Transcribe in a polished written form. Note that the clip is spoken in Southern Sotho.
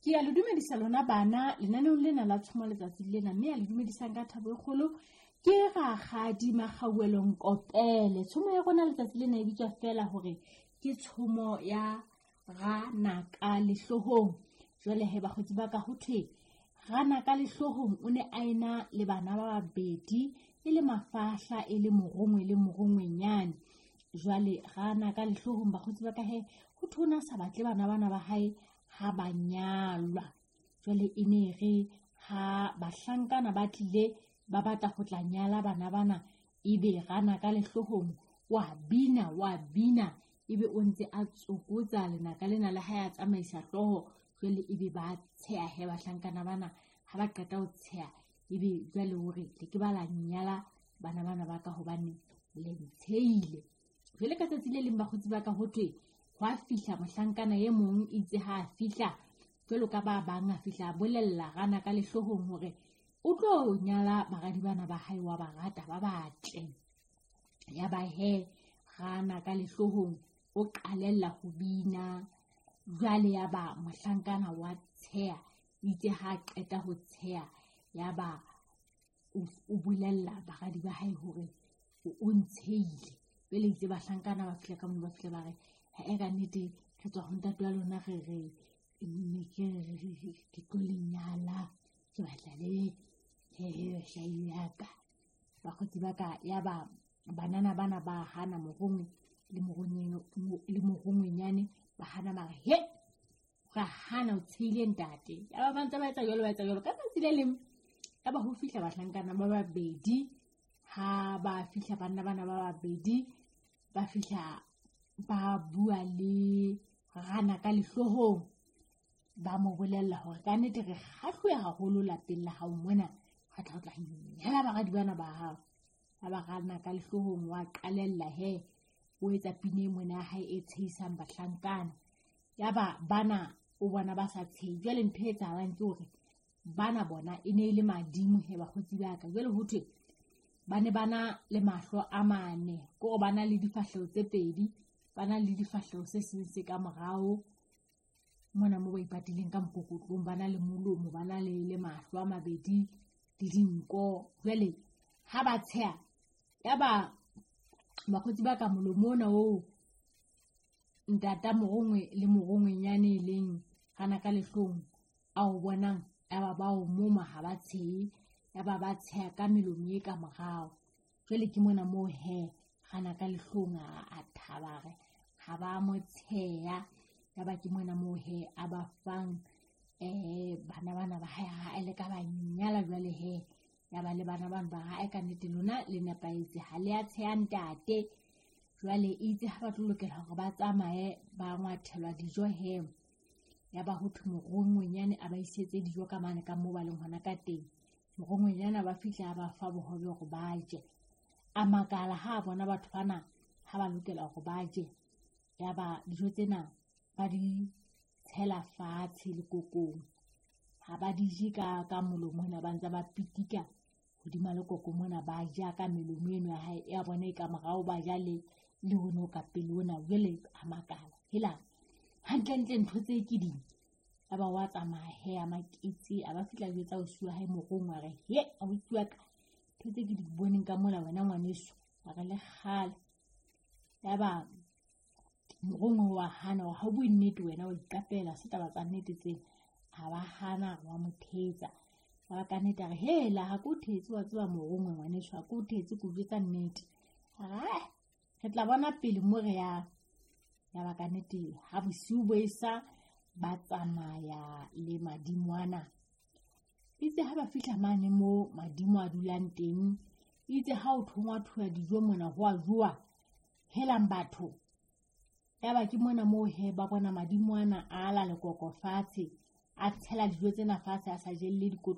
Ke a le dumedisa lona bana lenaneong lena la tshomo letsatsi lena, mme a le dumedisang ka thabo e kgolo ke Rakgadi Makgauwelo Nkopele. Tshomo ya rona letsatsi lena e bitswa feela hore ke tshomo ya Ranaka Lehlohong. Jwale he bakgotsi ba ka, ho thwe Ranaka Lehlohong o ne a ena le bana ba babedi, e le mafahla, e le morongwe le morongwenyane. Jwale Ranaka Lehlohong bakgotsi ba ka he, ho thwe o ne a sa batle bana bana ba hae ha ba nyalwa. Jwale e ne re ha bahlankana ba tlile ba batla ho tla nyala bana bana, ebe Ranaka Lehlohong wa bina wa bina, ebe o ntse a tsokotsa lenaka lena le hae a tsamaisa hlooho. Jwale ebe ba tsheha he bahlankana bana, ha ba qeta ho tsheha ebe jwale hore le ke ba la nyala bana bana ba ka hobane le ntshehile. Jwale ka tsatsi le leng bakgotsi ba ka, ho thwe hwa fihla mohlankana e mong, itse ha a fihla jwalo ka ba bang, a fihla a bolella Ranaka Lehlohong hore o tlo nyala baradi bana ba hae, wa ba rata ba batle. Ya ba he Ranaka Lehlohong o qalella ho bina. Jwale ya ba mohlankana wa tsheha, itse ha qeta ho tsheha ya ba o bolella baradi ba hae hore o ntshehile. Jwale itse bahlankana ba fihla ka moo, ba fihla ba re ha ka nnete re tswa ho ntate wa lona, re re ne ke re ke tlo le nyala, ke batla le hlahi ya ka. Bakgotsi ba ka, ya ba banana bana ba hana, morongwe le morongwenyane ba hana, ba re he ra hana, o tshehile ntate. Ya ba ba ntse ba etsa jwalo, ba etsa jwalo. Ka tsatsi le leng ya ba ho fihla bahlankana ba babedi. Ha ba fihla banna bana ba babedi, ba fihla ba bua le Ranaka Lehlohong, ba mo bolella hore ka nnete re kgahluwe haholo lapeng la hao mona, re tla o tla nyala baradi bana ba hao. Ha ba Ranaka Lehlohong wa qalella he o etsa pina e mona ya hae e tshehisang bahlankana. Ya ba bana o bona ba sa tshehe. Jwale ntho e etsahalang ke hore bana bona e ne e le madimo he bakgotsi ba ka. Jwale ho thwe ba ne ba na le mahlo a mane, ke hore ba na le difahleho tse pedi, ba na le difahleho se seng se ka morao mona mo ba ipatileng ka mokokotlong, ba na le molomo, ba na le mahlo a mabedi le dinko. Jwale ha ba tsheha ya ba bakgotsi ba ka, molomo ona oo ntata morongwe le morongwenyane e leng Ranaka Lehlohong a o bonang, ya ba ba o moma ha ba tshehe, ya ba ba tsheha ka melomo e ka morao. Jwale ke mona moo he Ranaka Lehlohong a thaba re ha ba mo tsheha. Ya ba ke mona moo he a ba fang bana bana ba hae, ha le ka ba nyala. Jwale he ya ba le bana bana ba hae, ka nnete lona le nepahetse, ha le a tsheha ntate. Jwale itse ha ba tlo lokela hore ba tsamaye ba ngwathelwa dijo he, ya ba ho thwe morongwenyane a ba isetse dijo ka mane ka moo ba leng hona ka teng. Morongwenyane ba fihla a ba fa bohobe hore ba je. A makala ha a bona batho bana ha ba lokela hore ba je, ya ba dijo tsena ba di tshela fatshe lekokong, ha ba di je ka molomo ona, ba ntse ba pitika hodima lekoko mona, ba ja ka melomo eno ya hae ya bona e ka morao, ba ja le ono ka pele ona. Jwale a makala hela hantlentle ntho tse ke ding. Ya ba wa tsamaya he a maketse, a ba fihla jwetsa ausi wa hae morongwe, a re he ausi wa ka, ntho tse ke di boneng ka mola wena ngwaneso, a re le kgale. Ya ba morongwe wa hana, ha o bue nnete wena, wa iqapela se taba tsa nnete tsena. A ba hana, wa mo thetsa. Ya ba ka nnete a re hela ha ke o thetse, wa tseba morongwe ngwaneso, ha ke o thetse, ke o jwetsa nnete. A re re tla bona pele mo re yang. Ya ba ka nnete ha bosiu bo esa ba tsamaya le madimo ana. Itse ha ba fihla mane mo madimo a dulang teng, itse ha o thongwa thuwa dijo mona ho a jowa, helang batho. Ya ba ke mona moo he ba bona madimo ana a ala lekoko fatshe, a tshela dijo tsena fatshe, a sa jelle dikotlo.